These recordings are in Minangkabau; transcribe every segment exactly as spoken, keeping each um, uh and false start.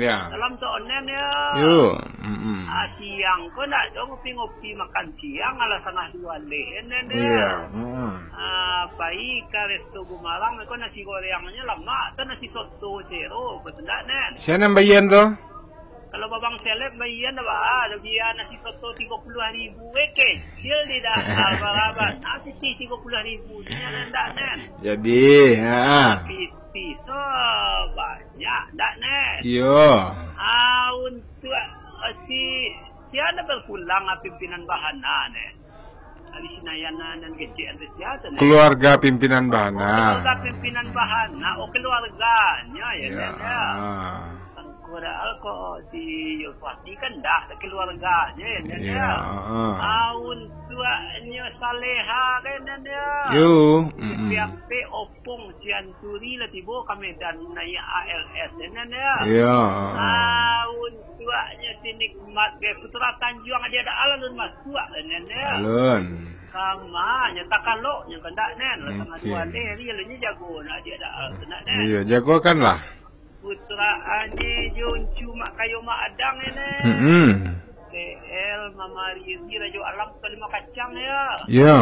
Ya. Salam tu onen ya. Yo. Mm-mm. Ah, siang ko ndak do ngopi-ngopi makan siang, alah satangah duo leh, onen ya. Iya. Mm-mm. Ah, pai ka resto Gumarang, ko nasi gorengnyo lamak, tu nasi soto sero, betul ndak, Nen? Sia nan bayia tu? Kalau babang seleb, bayia ndak, bah. Ado bia nasi soto tigo puluah ribu, eh, kecil di dah, abal-abal. Nasi ti tigo puluah ribu, nyo ndak, Nen? Jadi, ha. Tapi, ti so, banyak ndak, Nen? Iyo. Ah, untuak, ah, si, sia nan bapulang, ah, pimpinan Bahana, Nen? Ari Sinayan nan kecek, ari sia tu, Nen? Keluarga pimpinan Bahana. Oh, keluarga pimpinan Bahana. Oh, keluarganyo, ya, Nen, ya. Angku Daal ko si Yulfati kan dah keluarganyo, ya, Nen, ya. Ah, untuaknyo Saleha, kan, Nen, ya. Yo. Mm-mm. Piak-piak Pung Sianturi lah tibo ka Medan naiak A L S, Nen, ya. Iya. Ah, untuaknyo si Nikmat, ge, Putra Tanjuang, Adia Daal alun masuak, Nen, ya. Alun. Kama, nyo takalok, nyo kandak, Nen. Lah satangah duo leh, alun nyo jago, nak Adia Daal tu, nak, Nen. Iya, jagokanlah. Putra Ani, Juncu, Mak Kayo, Mak Adang, Nen. Mm-mm. T L, Mama Riri, Rajo Alam, Kalima Kacang, ya. Ya.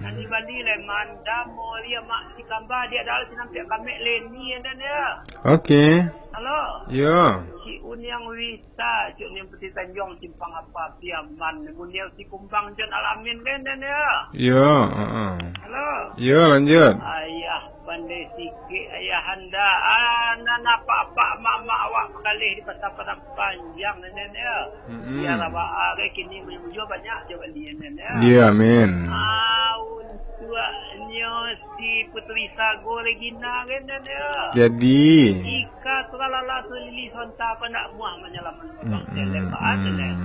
Nan di Bali, Lemanda, Moria, Mak Sikamba, Adia Daal, Sinampiak Kamek, Leni, ya, Nen, ya. Oke. Halo. Ya. Cik Uniang Wita, Cik Uniang Putih Tanjuang, Simpang Apa, Piaman, Muniau Sikumbang, John Alamin, Nen, Nen, ya. Ya, heeh. Halo. Ya, lanjut. Ayah Pandai sikik ayahanda, ah, nan apak-apak mamak awak bakaleh di Pasar Padang Panjang, Nen, ya. Mm-mm. Biar awak, ah, kini mujua banyak jo bali, Nen, ya. Iya, amin. Ah, untuaknyo si Puteri Sago Regina, Nen, ya. Jadi. Ika Tralala Sulili Sonta, apa nak muah manyalaman Abang Seleb, Nen.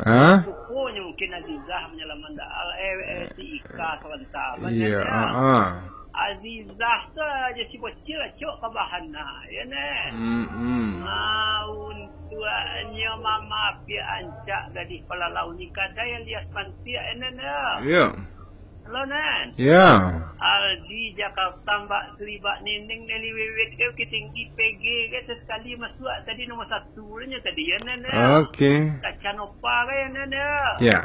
Ah? Sukonyo mungkin Azizah manyalaman dah, eh, eh, si Ika Tralala, Nen, ya. Iya, ah, ah. Azizah tu aja si bocil acok ka Bahana, ya, Nen? Mm-mm. Ah, untuaknyo Mama Apiak Ancak, gadih palalau ni kadai alias pantiak, ya, Nen, ya? Iya. Halo, Nen? Ya. Aldi Jakarta, Mbak Sri, Mbak Nining, Nelly Wiwit, ke Bukittinggi, P G, ke, sesekali masuak tadi nomor satu nyo tadi, ya, Nen, ya? Oke. Kaca Nova, ke, ya, Nen, ya? Ya.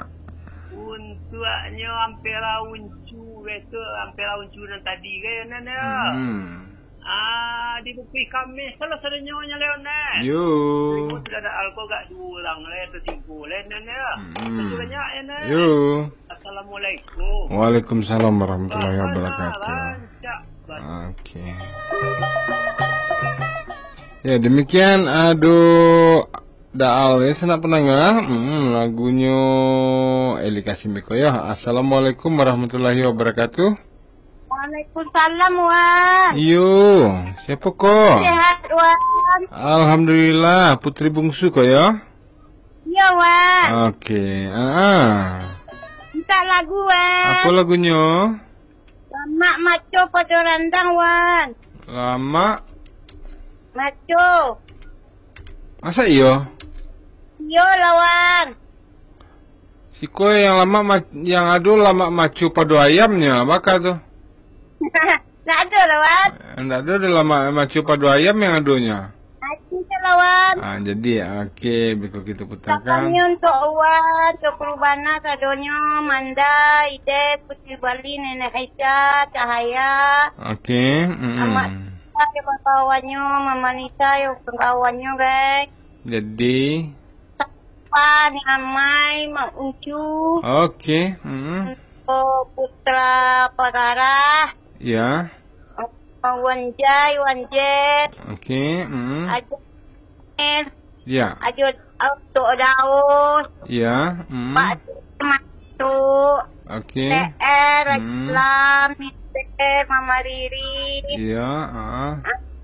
Untuaknyo Ampera Uncu, ke, tu Ampera Uncu nan tadi, ke, ya, Nen, ya? Hmm. Ah, di Bukik Kameh, salah sadonyo nyo, Leon, eh. Yo. Terima sudah ada alko gak dua urang, le, atau tigo, le, Nen, ya. Hmm. Terima kasih banyak, ya, Nen. Yo. Assalamualaikum. Waalaikumsalam warahmatullahi wabarakatuh. Bahana rancak, bah. Oke. Ya, demikian Ado Daal, ya, sanak pendengar. Hmm, lagunyo Eli Kasim Biko, ya. Assalamualaikum warahmatullahi wabarakatuh. Waalaikumsalam, Wan. Iyo, siapa ko? Sehat, Wan. Alhamdulillah, putri bungsu ko, ya? Iya, Wan. Oke, ah, ah. Minta lagu, Wan. Apa lagunyo? Lamak maco pado randang, Wan. Lamak? Maco. Masa iyo? Iyo lah, Wan. Siko yang lamak ma-, yang ado lamak maco pado ayamnyo, baka tu? Ndak ado lah, Wan. Ndak ado, ado lamak maco pado ayam yang adonyo. Maco tu lah, Wan. Ah, jadi, oke, biko kita putarkan. Salamnyo untuk Wan, untuk Kurbana sadonyo, Manda, Ides, Putri Bali, Nenek Aisyah, Cahaya. Oke, mm-mm. Amak Nisa, yo kawan-kawannyo, Mama Nisa, yo kawan-kawannyo, guys. Jadi, Pan, Amai, Mak Uncu. Oke, mm. Untuk Putra Pagarah. Ya. Wan Jai, Wan Jet. Oke, mm. Ajo Nel. Ya. Ajo Tok Daus. Ya, mm. Pak Masuk. Oke. T R, hmm. Islam, Mister, Mama Riri. Iya, ah.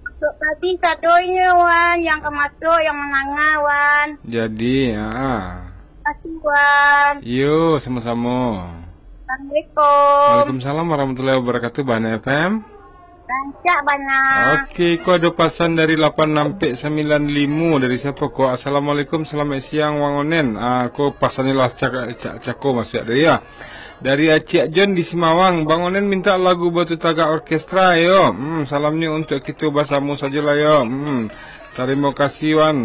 Masuk tadi sadonyo, Wan, yang ka masuk, yang manangah, Wan. Jadi, ah. Terima kasih, Wan. Yo, sama-sama. Assalamualaikum. Waalaikumsalam warahmatullahi wabarakatuh, Bahana F M. Rancak bana. Oke, ko ado pasan dari lapan nampek sambilan limo, dari siapa ko? Assalamualaikum, selamat siang, Wang Onen. Ah, ko pasannyo lah cak-, cak-, cako masuak dari, ya. Dari Acik John di Simawang, Bang Onen minta lagu Batu Tagak Orkestra, yo. Hmm, salamnyo untuk kito basamo sajolah, yo. Hmm, tarimo kasih, Wan.